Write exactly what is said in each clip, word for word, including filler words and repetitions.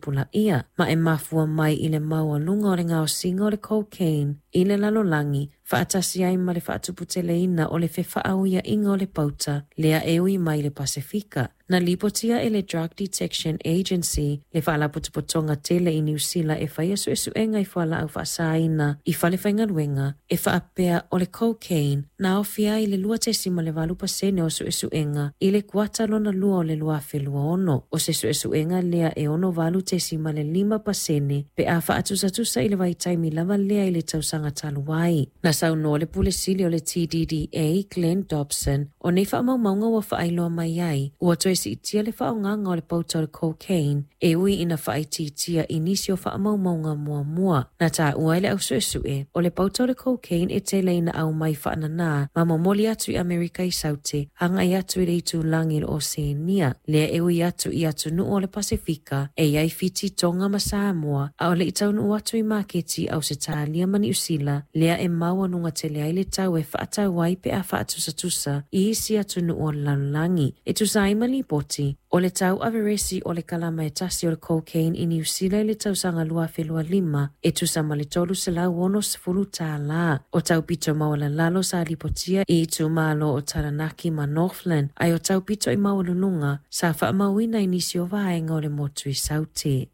faatupulaia, ma e mafua mai i le maualuga o le gaosiga o le cocaine i le lalolagi, faatasi ai ma le faatuputeleina o le fefaauiaiga o le pauta lea e ui mai le Pasefika. Na lipotia e le Drug Detection Agency, le faalapotopotoga tele i Niu Sila e faia suesuega i fualaau faasaina i falefaigaluega, e faapea o le cocaine na aofia ai le lua tesima le valu pasene o suesuega i le kuata lona lua o le lua afe lua ono. O se suesuega lea e ono valu tesima le lima pasene pe a faatusatusa i le vaitaimi lava lea i le tausaga talu ai. Na saunoa le Pule Sili o le T D D A, Glenn Dobson, o nei faamaumauga ua faailoa mai ai, ua toe siitia le faaaogaga o le pauta o le cocaine e ui ina faaitiitia i nisi o faamaumauga muamua. Na taua ai le ausuesue, o le pauta o le cocaine e tele ina aumai faanana ma momoli atu i Amerika i Saute, agai atu i le itulagi o le Oseania, lea e ui atu i atunuu o le Pasefika, e iai Fiti, Tonga ma Samoa, a o le i taunuu atu i maketi Ausetalia ma Niu Sila, lea e maualuga tele ai le tau e faatau ai pe a faatusatusa i isi atunuu o le lalolagi. E tusa ai ma lipoti, o le tau averesi o le kalama e tasi o le cocaine i Niu Sila i le tausaga lua afe lua lima, e tusa ma le tolu selau ono sefulu tālā. O tau pito maualalalo sa lipotia i itumalo o Taranaki ma Northland, ae o tau pito i maualuluga sa faamauina i nisi o vaega o le motu i Saute.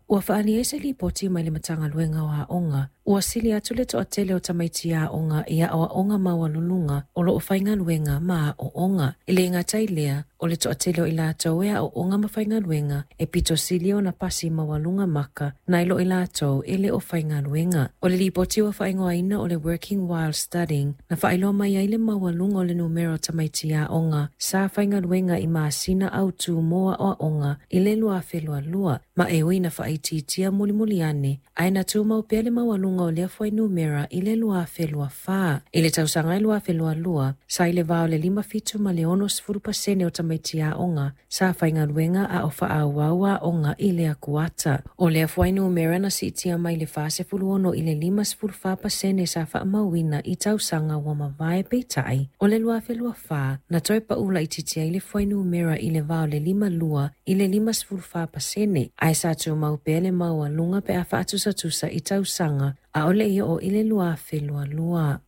Ua faaalia ai se lipoti mai le Matagaluega o Aoga, ua sili atu le toatele o tamaiti aoga i aoaoga maualuluga o loo faigaluega ma aoaoga. E le gata i lea, o le toatele o i latou e aoaoga ma faigaluega e pito sili ona pasi maualuga maka nai lo i latou e le o faigaluega. O le lipoti ua faaigoaina o le Working While Studying na faailoa mai ai le maualuga o le numera o tamaiti aoga sa faigaluega i masina autu mo aoaoga i le lua afe lua lua, ma e ui na faaitiitia mulimuli ane, ae na tumau pea le maualuga o lea fuainumera i le lua afe lua fa. I le tausaga e lua afe lua lua, sa i le va o le lima fitu ma le ono sefulu pasene o tamaiti aoga sa faigaluega a o faaauau aoga i lea kuata. O lea fuainumera na siitia mai le fa sefulu ono i le lima sefulu fa pasene sa faamauina i tausaga ua mavae peitai. O le lua afe lua fa, na toe paula itiiti ai le fuainumera i le va o le lima lua i le lima sefulu fa pasene, ae sa tumau pea le maualuga pe a faatusatusa i tausaga a o le i oo i le lua afe lua lua.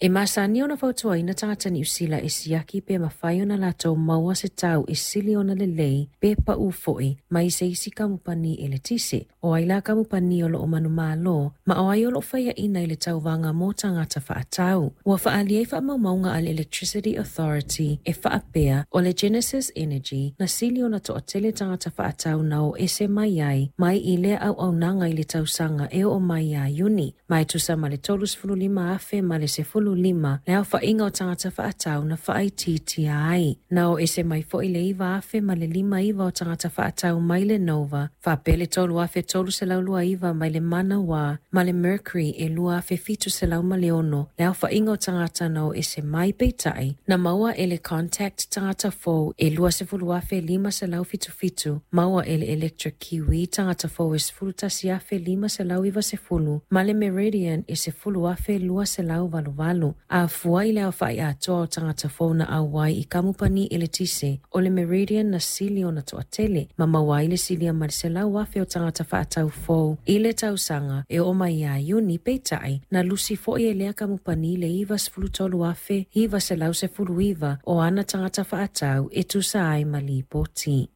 E masani ona fautuaina tagata Niu Sila e siaki pe mafai ona latou maua se tau e sili ona lelei pe pau foi mai se isi kamupani eletise. O ai la kamupani o loo manumalo, ma o ai o loo faiaina i le tauvaga mo tagata faatau. Ua faaalia ai faamaumauga a le Electricity Authority e faapea o le Genesis Energy na sili ona toatele tagata faatau na o ese mai ai mai i lea auaunaga i le tausaga e oo mai ia Iuni, ma e tusa ma le tolu sefulu lima afe ma le sefulu lima le aofaiga o tagata faatau na faaitiitia ai. Na o ese mai foi le iva afe ma le lima iva o tagata faatau mai le Nova, faapea le tolu afe tolu selau lua iva mai le Manawa ma le Mercury e lua afe fitu selau ma le ono le aofaiga o tagata na o ese mai peitai. Na maua e le Contact tagata fou e lua sefulu afe lima selau fitu fitu, maua e le Electric Kiwi tagata fou e sefulu tasi afe lima selau iva sefulu, ma le Meridian e sefulu afe lua selau valu valu. A fua i le aofai atoa o tagata fou na auai i kamupani eletise, o le Meridian na sili ona toatele, ma maua ai le silia ma le selau afe o tagata faatau fou i le tausaga e oo mai ia Iuni peitai, na lusi foi e lea kamupani le iva sefulu tolu afe iva selau sefulu iva o ana tagata faatau e tusa ai ma lipoti.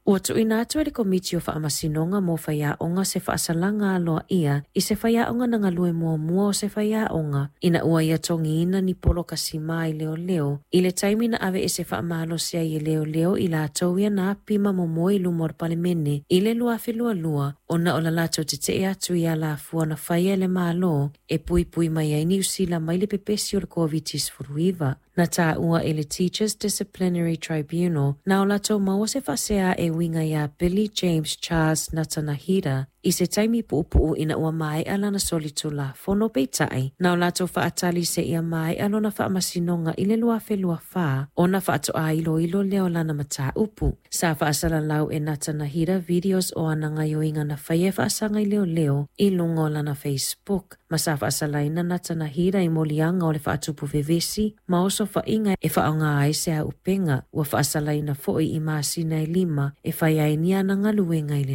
Ua tuuina atu e le Komiti o Faamasinoga mo Faiaoga se faasalaga aloaia i se faiaoga na galue muamua o se faiaoga ina ua ia togiina ni polokasima i leoleo i le taimi na ave e se faamalosi ai e leoleo i latou ia na api ma momoe i luma o le Palemene i le lua afe lua lua ona o la latou tetee atu i alafua na faia e le Malo e puipui mai ai Niu Sila mai le pepesi o le COVID sefulu iva. Na taua e le Teachers Disciplinary Tribunal na o latou maua se faasea e uiga ia Billy James Charles Natanahira i se taimi puupuu ina ua maea lana solitulafono peitai, na o latou faatali se ia maea lona faamasinoga i le lua afe lua fa ona faatoa iloilo lea o lana mataupu. Sa faasalalau e Natanahira videos o ana gaioiga na faia e faasaga i leoleo i luga o lana Facebook, ma sa faasalaina Natanahira i moliaga o le faatupu vevesi ma osofaiga e faaaoga ai se auupega. Ua faasalaina foi i masina e lima e fai ai ni ana galuega i le